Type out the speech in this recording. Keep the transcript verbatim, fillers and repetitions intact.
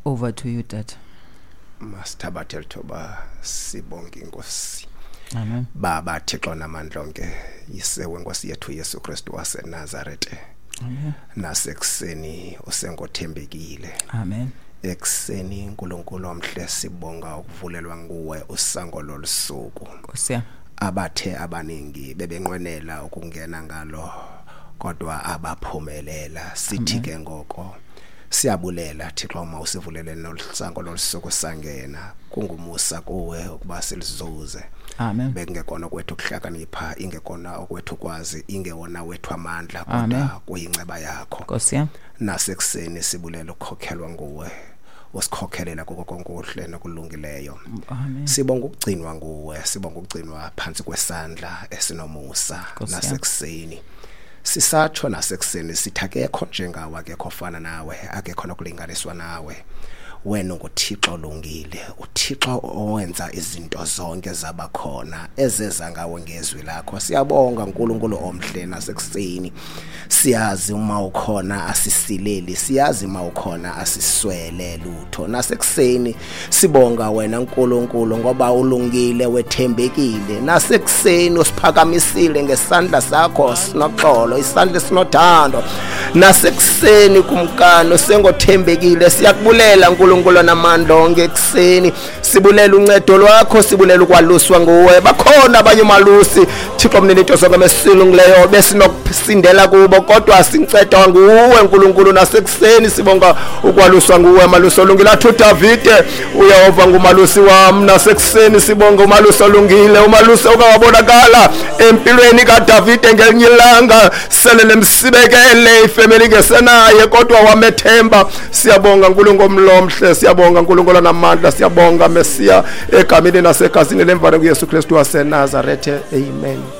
Over to you, Dad. Masithabathe lithoba sibonke inkosi. Amen. Baba Thixo namandla onke, yise wenkosi yethu Yesu Kristu waseNazarethe. Amen. Nasekuseni usengothembekile. Amen. Ekuseni uNkulunkulu omhle sibonga ukuvulelwa nguwe usango lolusuku. Nkosi yami. Abathe abaningi bebenqwenela ukungena ngalo kodwa abaphumelela. Sithi ke ngoko siyabulela Thixo uma usivulele nolusango lolusuku sangena. Kungumusa kuwe ukuba silizuze. Amen. Bekungekona kwethu ukuhlakanipha, ingekona okwethu kwazi, ingewona wethu amandla, Amen. kodwa kuyinceba yakho. Nkosi yami. Nasekuseni sibulela ukukhokhelwa nguwe, usikhokhelela kuko konke okuhle nokulungileyo. Amen. Sibonga ukugcinwa nguwe, sibonga ukugcinwa phansi kwesandla esinomusa. Nkosi yami. Nasekuseni sisatsho, nasekuseni sithi akekho njengawe, akekho ofana nawe, akekho nokulinganiswa nawe. Wena unguThixo olungile, uThixo owenza izinto zonke zabakhona ezeza ngawe ngezwi lakho. Siyabonga uNkulunkulu omhle nasekuseni. Siyazi uma ukhona asisileli, siyazi uma ukhona asiswele lutho. Nasekuseni sibonga wena uNkulunkulu ngoba ulungile, wethembekile. Nasekuseni usiphakamisile ngesandla sakho sinoxolo, isandla sinothando. Nasekuseni kumkani usengothembekile. Siyakubulela uNkulunkulu namandla onke ekuseni. Sibulela uncedo lwakho, sibulela ukwaluswa nguwe. Bakhona abanye umalusi Thixo mnini into zonke mesilungileyo besinokusindela kubo, kodwa sincedwa nguwe uNkulunkulu. Nasekuseni sibonga ukwaluswa nguwe malusi olungile. Athi uDavide, uYehova ngumalusi wami. Nasekuseni sibonga umalusi olungile, umalusi okawabonakala empilweni kaDavide ngelinye ilanga sele lemsibekele ifemeli ngesenaye, kodwa wamethemba. Siyabonga uNkulunkulu omlomhle, siyabonga uNkulunkulu namandla, siyabonga Mesiya, egameni nasegazini lemvana kuYesu Kristu waseNazarethe. Amen.